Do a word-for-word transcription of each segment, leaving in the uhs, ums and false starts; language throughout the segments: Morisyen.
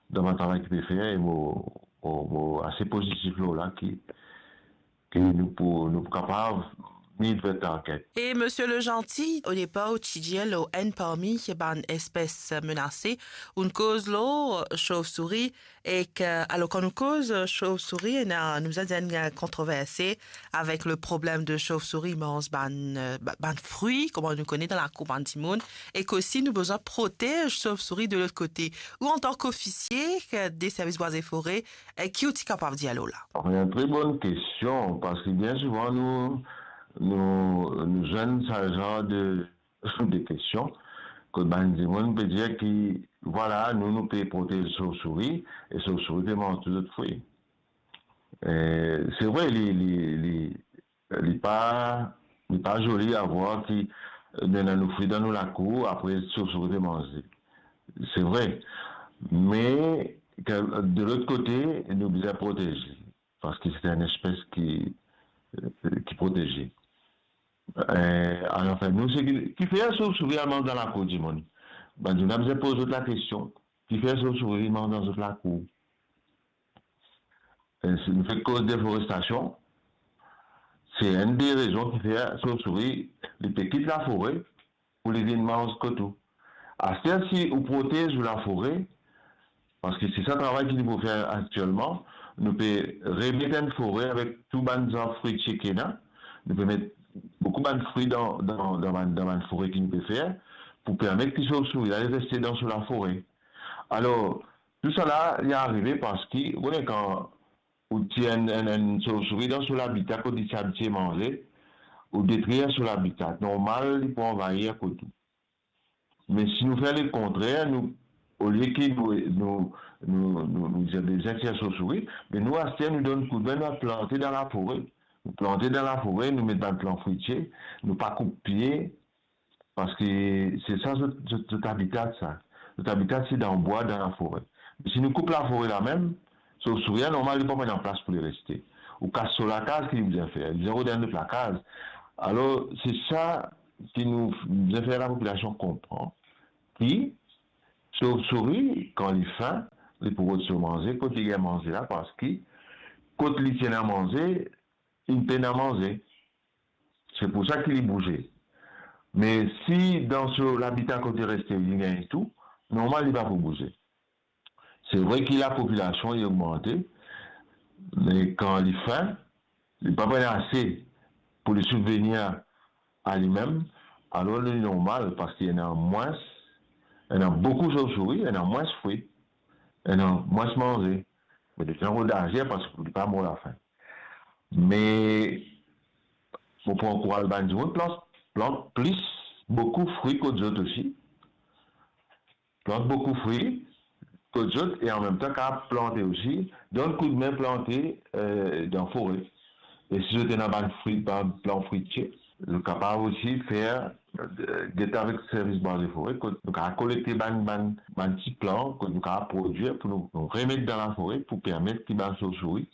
dan bann travay ki pe fer, e mo, mo, mo ase pozitif lor la ki, ki nou pou, nou pou kapav meet that target. Et Monsieur Le Gentil, au départ, ou ti dir lor enn parmi bann espes menase, ou'nn koz lor chauve-souris, e ke, alor, kan nou koz chauve-souris, ena, nou bizin dir enn kontrovers avek le problem de chauve-souris manz bann, euh, ba-, bann fri, kouma nou kone dan lakour bann dimoun, e ke osi nou bizin protez chauve-souris de lot kote. Ou, antan k'ofisie, ke de servis bwa e fore, e ki ou ti kapav dir lor la? Anfin, enn tre bonn kestion, parski bien souvan nou, nou, nou zwenn sa zar de, de kestion, kot bann dimoun pe dir ki, vwala, nou, nou pe protez chauve-souris, e chauve-souris pe manz tou zot fri. E, se vre, li, li, li, li pa, li pa zoli a vwar ki nou ena nou fri dan nou lakour, apre chauve-souris pe manz li. Se vre. Me, ke, de lot kote, nou bizin protez li, parski se enn espes ki, ki proteze. E, alor, anfin, nou, se ki, kifer chauve-souris al manz dan lakour dimoun? Bann dimoun bizin poz zot lakestion, kifer chauve-souris vinn manz dan zot lakour? E, si nou fek koz deforestasion, se enn de rezon kifer chauve-souris, li pe kit lafore pou li vinn manz kot ou. Aster, si ou protez ou lafore, parski se sa travay ki nou pou fer aktielman, nou pe remet enn fore avek tou bann zarb fritie ki ena, nou pe met boukou bann fri dan, dan, dan bann, dan bann fore ki nou pe fer, pou permet ki chauve-souris la, li reste dan so lafore. Alor, tousala, li arive parski, ou kone, kan ou tir enn, enn, enn chauve-souris dan so labita kot li ti abitie manze, ou detrir so labita, normal, li pou anvayir kot ou. Me si nou fer lekontrer, nou, olie ki nou, nou, nou, nou, nou, nou bizin tir chauve-souris, me nou, aster, nou donn koudme, nou al plante dan lafore. Nou plante dan lafore, nou met bann plan fritie, nou pa koup pie, parski se sa zot, zot, zot abita, sa. Zot abita, se dan bwa, dan lafore. Me si nou koup lafore la mem, chauve-souris la, normal, li pa pou ena plas pou li reste. Ou kas so lakaz, ki li bizin fer? Li bizin rod enn lot lakaz. Alor, se sa ki nou bizin fer lapopilasion konpran, ki chauve-souris, kan li fin, li pou rod so manze, kot li gagn manze la, parski kot li ti ena manze, li pena manze. Se pou sa ki li bouze. Me si dan so labita kot li reste, li gagn tou, normal, li pa pou bouze. Se vre ki lapopilasion, li ogmante, me kan li fin, li pa pou ena ase pou li sibvenir a limem, alor li normal, parski ena mwins, ena boukou chauve-souris, ena mwins fri, ena mwins manze. Me li bizin rod azer, parski li pa mor lafin. Me mo pou ankouraz bann dimoun plant, plant plis, boukou fri kot zot osi. Plant boukou fri kot zot e anmemtan kapav plante osi, donn koudme plante, eh, dan fore. E si zot ena bann fri, bann plan fritie, zot kapav osi fer, eh, get avek servis bwa e fore, kot nou kapav kolekte bann, bann, bann ti plan, kot nou kapav prodwir pou nou, nou remet dan lafore pou permet ki bann chauve-souris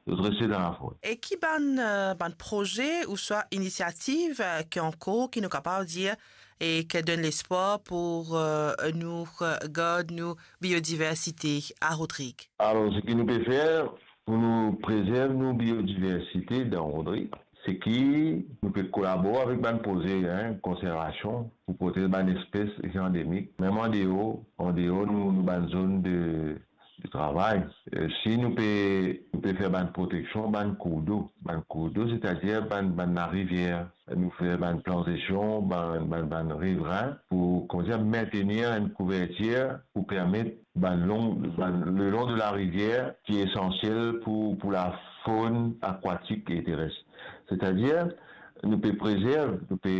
zot reste dan lafore. E ki bann, eh, bann proze ouswa inisiativ, eh, ki an kour, ki nou kapav dir, e ki donn lespwar pou, eh, nou, eh, gard nou biodiversite a Rodrig? Alor, seki nou pe fer pou nou prezerv nou biodiversite dan Rodrig, seki nou pe kolabor avek bann proze, hein, konservasion pou protez bann espes ki andemik, mem andeor, andeor nou, nou bann zone de, de travay. Eh, si nou pe, nou pe fer bann proteksion, bann kourdo, bann kourdo, setadir bann, bann larivier, nou fer bann plantasion, bann, bann, bann rivrin, pou, kouma dir, mentenir enn kouvertir pou permet bann long, bann, le long de larivier, ki esansiel pou, pou lafone akwatik e teres. Setadir, nou pe prezerv, nou pe,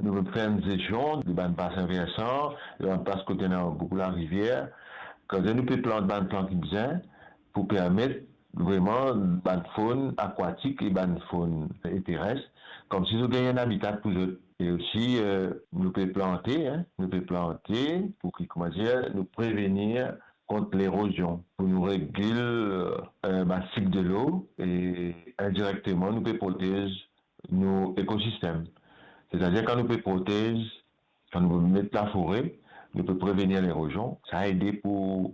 nou pe fer enn zestion de bann basin versan, de bann plas kot ena boukou larivier, kouma dir nou pe plant bann plan ki bizin pou permet vreman bann fone akwatik e bann fone teres, koumsi zot gagn enn abita pou zot. E osi, eh, nou pe plante, hein, nou pe plante pou ki, kouma dir, nou prevenir kont lerozion, pou nou regil, eh, bann sik delo e indirekteman nou pe protez nou ekosistem. Setadir, kan nou pe protez, kan nou pe met lafore, nou pe prevenir lerozion, sa ede pou